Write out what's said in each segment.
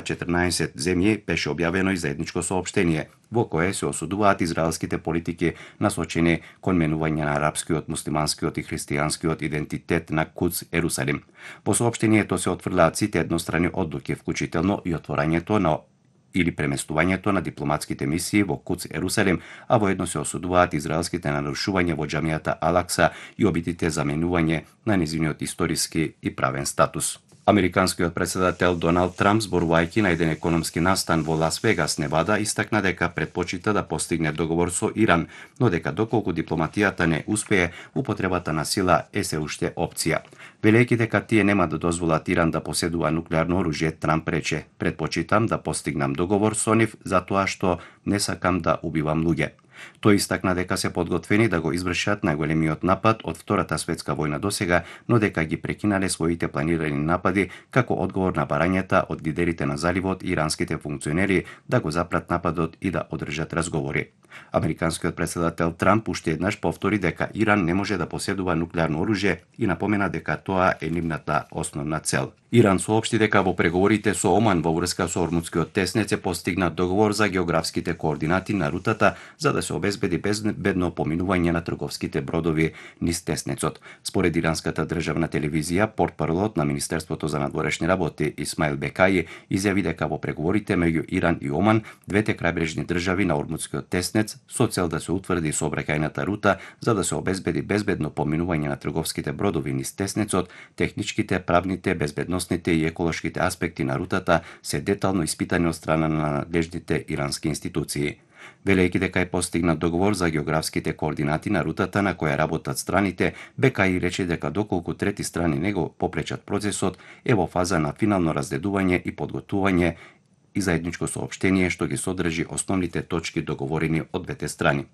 14 земји беше објавено и заедничко соопштение во кое се осудуваат израелските политики насочени кон менување на арапскиот, муслиманскиот и христијанскиот идентитет на Кудс Ерусалим. Во соопштението се отфрлаат сите еднострани одлуки, вклучително и отворањето на или преместувањето на дипломатските мисии во Кудс Ерусалим, а воедно се осудуваат израелските нарушувања во џамијата Алакса и обидите за менување на нејзиниот историски и правен статус. Американскиот председател Доналд Трамп, зборувајќи на еден економски настан во Лас Вегас, Невада, истакна дека предпочита да постигне договор со Иран, но дека доколку дипломатијата не успее, употребата на сила е се уште опција. Велејќи дека тие нема да дозволат Иран да поседува нуклеарно оружје, Трамп рече: "Предпочитам да постигнам договор со нив затоа што не сакам да убивам луѓе." Тој истакна дека се подготвени да го извршат најголемиот напад од Втората светска војна досега, но дека ги прекинале своите планирани напади како одговор на барањата од лидерите на заливот и иранските функционери да го запрат нападот и да одржат разговори. Американскиот председател Трамп уште еднаш повтори дека Иран не може да поседува нуклеарно оружје и напомена дека тоа е нивната основна цел. Иран соопшти дека во преговорите со Оман во врска со Ормудскиот теснец е постигнат договор за географските координати на рутата за да се обезбеди безбедно поминување на трговските бродови низ теснецот. Според иранската државна телевизија, портпаролот на Министерството за надворешни работи Исмаил Бекаи изјави дека во преговорите меѓу Иран и Оман, двете крајбрежни држави на Ормудскиот теснец, со цел да се утврди сообраќајната рута за да се обезбеди безбедно поминување на трговските бродови низ теснецот, техничките, правните, безбедносните и еколошките аспекти на рутата се детално испитани од страна на надлежните ирански институции. Велејќи дека е постигнат договор за географските координати на рутата на која работат страните, Бекаи рече дека доколку трети страни не го попречат процесот, е во фаза на финално раздедување и подготвување и заедничко соопштение што ги содржи основните точки договорени од двете страни.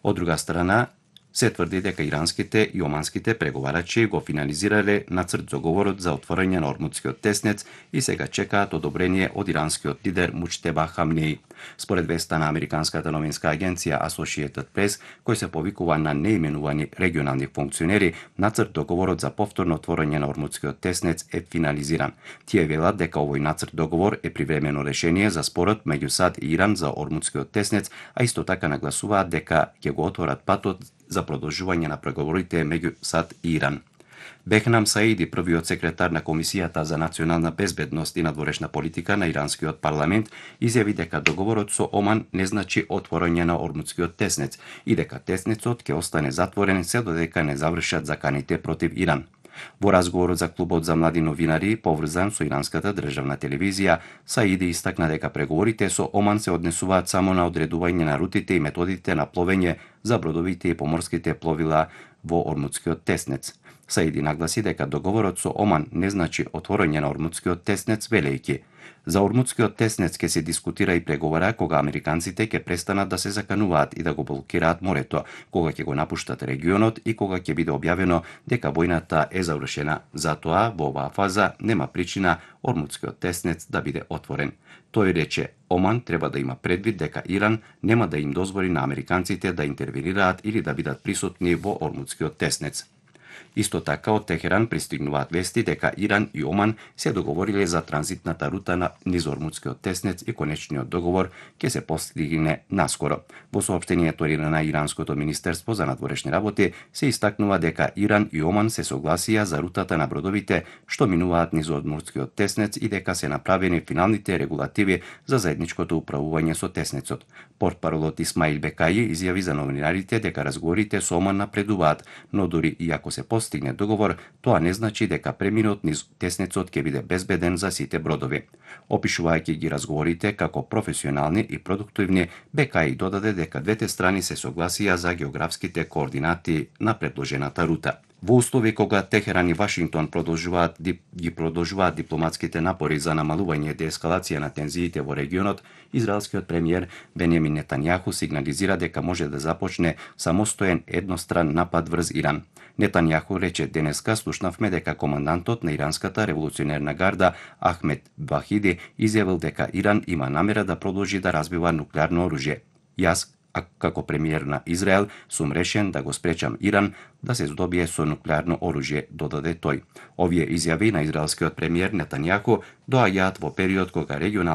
Од друга страна, се тврди дека иранските и оманските преговарачи го финализирале нацрт договорот за отворање на Ормудскиот теснец и сега чекаат одобрение од иранскиот лидер Муџтеба Хамнеи. Според веста на американската новинска агенција Associated Press, кој се повикува на неименувани регионални функционери, нацрт договорот за повторно отворање на Ормудскиот теснец е финализиран. Тие велат дека овој нацрт договор е привремено решение за спорот меѓу САД и Иран за Ормудскиот теснец, а исто така нагласуваат дека ќе го отворат патот за продолжување на преговорите меѓу САД и Иран. Бехнам Саиди, првиот секретар на Комисијата за национална безбедност и надворешна политика на иранскиот парламент, изјави дека договорот со Оман не значи отворање на Ормудскиот теснец и дека теснецот ќе остане затворен се додека не завршат заканите против Иран. Во разговорот за клубот за млади новинари, поврзан со иранската државна телевизија, Саиди истакна дека преговорите со Оман се однесуваат само на одредување на рутите и методите на пловење за бродовите и поморските пловила во Ормудскиот теснец. Саиди нагласи дека договорот со Оман не значи отворање на Ормудскиот теснец, велејќи: "За Ормудскиот теснец ќе се дискутира и преговара кога американците ќе престанат да се закануваат и да го блокираат морето, кога ќе го напуштат регионот и кога ќе биде објавено дека војната е завршена. Затоа во оваа фаза нема причина Ормудскиот теснец да биде отворен." Тој рече: "Оман треба да има предвид дека Иран нема да им дозволи на американците да интервенираат или да бидат присутни во Ормудскиот теснец." Исто така од Техеран пристигнуваат вести дека Иран и Оман се договориле за транзитната рута низ Ормудскиот теснец и конечниот договор ќе се постигне наскоро. Во соопштението на Иранското министерство за надворешни работи се истакнува дека Иран и Оман се согласија за рутата на бродовите што минуваат низ Ормудскиот теснец и дека се направени финалните регулативи за заедничкото управување со теснецот. Портпаролот Исмаил Бекаи изјави за новинарите дека разговорите со Оман напредуваат, но дури и ако се постигне договор, тоа не значи дека преминот низ теснецот ќе биде безбеден за сите бродови. Опишувајќи ги разговорите како професионални и продуктивни, Бекаи додаде дека двете страни се согласија за географските координати на предложената рута. Во услови кога Техеран и Вашингтон продолжуваат дипломатските напори за намалување и деескалација на тензиите во регионот, израелскиот премиер Бенјамин Нетањаху сигнализира дека може да започне самостоен едностран напад врз Иран. Нетањаху рече: "Денеска слушнавме дека командантот на иранската револуционерна гарда Ахмед Вахиди изјавил дека Иран има намера да продолжи да развива нуклеарно оружје. Јас, како премиер на Израел, сум решен да го спречам Иран да се здобие со нуклеарно оружје", додаде тој. Овие изјави на израелскиот премиер Нетањаху доаѓаат во период кога регионалните